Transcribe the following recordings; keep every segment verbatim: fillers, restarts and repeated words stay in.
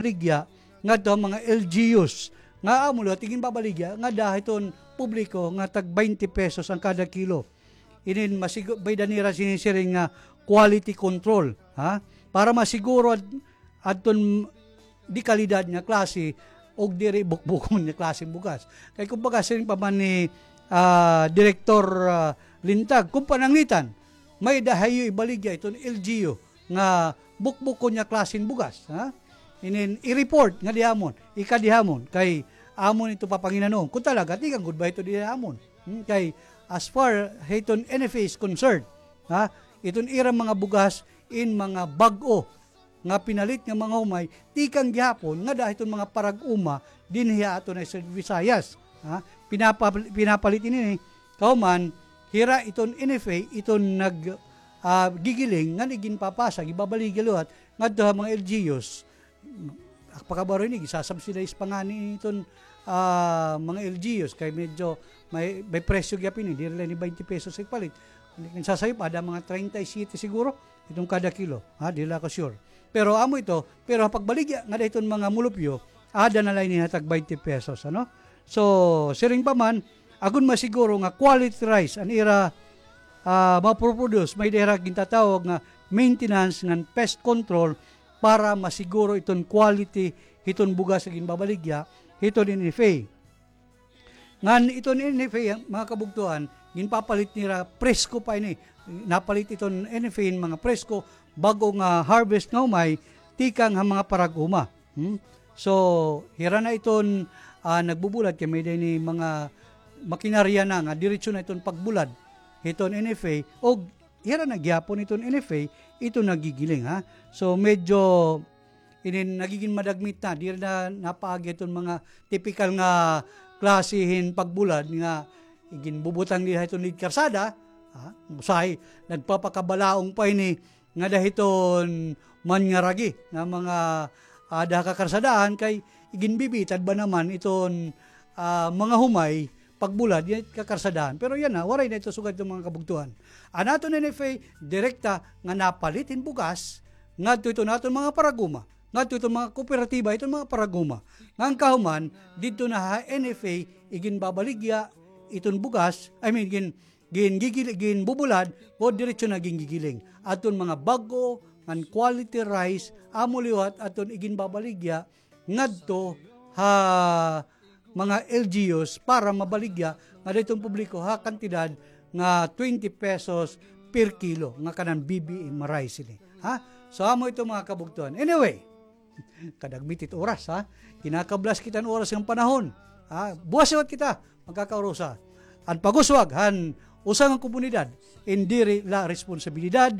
baligya ngadto ha mga L G Us nga amo liwat iginbabaligya ngada hiton publiko nga tag baynte pesos an kada kilo. Inin masigu-, may-ada nira sinisiring nga quality control, ha? Para masiguro ad-, adton dekalidad nga klase ug diri bukbukon nga klase hin bugas. Kay kumbaga, siring pa man ni, ah, Direktor, ah, Lintag, kon pananglitan, may-ada hiyo ibaligya iton L G U nga bukbukon nga klase hin bugas, ha? Inin i-report ngadi ha amon, ikadi ha amon, kay amon ito papanginanoon. Kon talaga, tikang gud ba ito didi ha amon? Hmm, kay as far hiton N F A is concerned, ha? Iton ira mga bugas in mga bag-o nga pinalit nga mga humay, tikang gihapon ngada hiton mga parag-uma dinhi ha aton ha Visayas, ha? Pinapa-, pinapalit ini, kahuman, hira iton N F A, iton nag-, ah, gigiling, ngan iginpapasa, gibabaligya liwat ngadto ha mga L G Us. Pakabaro ini, gisasubsidize pa ngani iton, ah, mga L G Us, kay medyo may, may presyo gihap ini, diri la ini baynte pesos igpalit. Kon sasayop, ada mga treinta y siete siguro, iton kada kilo, ha, diri la ako sure. Pero amo ito, pero ha pagbaligya ngada hiton mga mulupyo, ada na la ini ha tag baynte pesos, ano? So, siring pa man, agon masiguro nga quality rice an ira, ah, maproproduce, may-ada hira gintatawag nga maintenance ngan pest control para masiguro iton quality hiton bugas nga ginbabaligya hiton N F A. Ngan iton N F A, mga kabugtoan, ginpapalit nira presko pa ini. Napalit iton N F A hin mga presko, bag-o nga harvest nga humay, tikang ha mga parag-uma. Hmm? So, hira na iton, ah, nagbubulad kay may-ada ini mga makinarya na nga diretso na iton pagbulad hiton N F A, ug hira na gihapon iton N F A, iton nagigiling, ha. So, medyo inin nagigin madagmit na, diri na napaagi iton mga tipikal nga klase hin pagbulad nga iginbubutang dida hiton lid karsada, ha. Usahay, nagpapakabalaong pa ini ngada hiton manyaragi nga mga, ah, ada ha kakarsadaan kay iginbibitad ba naman iton, ah, mga humay pagbulad, yana ha kakarsadaan. Pero yana, waray na ito sugad iton mga kabugtoan. An aton N F A, direkta nga napalit hin bugas ngadto hiton aton mga parag-uma, ngadto hiton mga kooperatiba, hiton mga parag-uma. Ngan kahuman, didto na ha N F A, iginbabaligya iton bugas, I mean, gin-, gin-, gigil-, ginbubulad, o diretso na gingigiling. Aton mga bag-o ngan quality rice, amo liwat aton iginbabaligya ngadto ha mga L G Us para mabaligya ngada hiton publiko ha kantidad nga twenty pesos per kilo nga kanan B B M rice ini. Ha? So, amo ito, mga kabugtoan. Anyway, kadagmit it oras, ha? Kinakablas kita hin oras ngan panahon. Ha? Buwas liwat kita magkakaurusa. An pag-uswag han usa nga komunidad, in diri la responsibilidad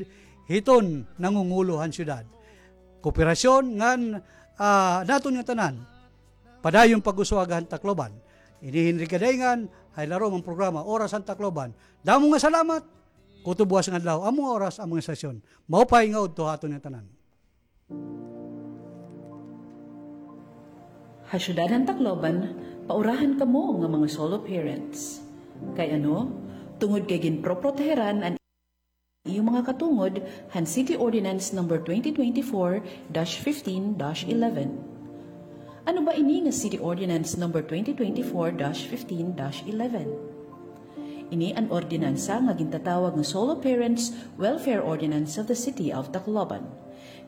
hiton nangungulo han syudad. Kooperasyon ngan, ah, naton nga tanan. Padayon pag-uswag han Tacloban. Ini hi Henry Kadaingan, ha ilarom han programa Oras han Tacloban. Damo nga salamat. Kutob buwas nga adlaw, amo nga oras, amo nga estasyon. Maupay nga udto ha aton nga tanan. Ha syudad han Tacloban, paurahan kamo nga mga solo parents. Kay ano? Tungod kay ginproproteheran an iyo mga katungod han City Ordinance Number twenty twenty-four dash fifteen dash eleven. Ano ba ini nga City Ordinance Number twenty twenty-four dash fifteen dash eleven? Ini an ordinansa nga gintatawag nga Solo Parents Welfare Ordinance of the City of Tacloban.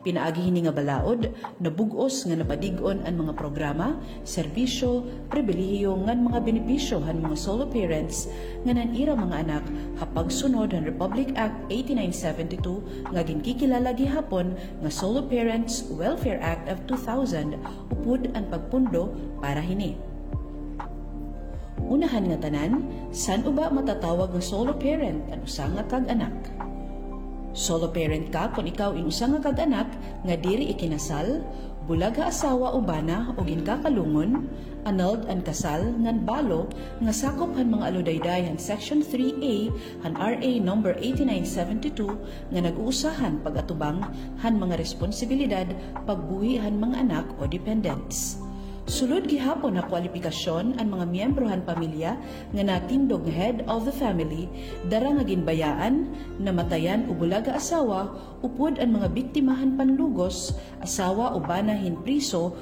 Pinaagi hini nga balaod, nabug-os nga napadig-on an mga programa, serbisyo, pribilehiyo ngan mga benepisyo han mga solo parents ngan an ira mga anak ha pagsunod han Republic Act eighty-nine seventy-two nga ginkikilala gihapon nga Solo Parents Welfare Act of two thousand, upod an pagpundo para hini. Unahan nga tanan, san-o ba matatawag nga solo parent an usa nga kag-anak? Solo parent ka kon ikaw in usa nga kag-anak nga diri ikinasal, bulag ha asawa o bana o ginkakalungon, annulled an kasal ngan balo nga sakop han mga aludayday han Section three A han R A number eighty-nine seventy-two nga nag-uusa han pag-atubang han mga responsibilidad pagbuhi han mga anak o dependents. Sulod gihapon ha kwalipikasyon an mga miyembro han pamilya nga natindog nga head of the family, dara nga ginbayaan, namatayan o bulag ha asawa, upod an mga biktima han panlugos, asawa o bana hin priso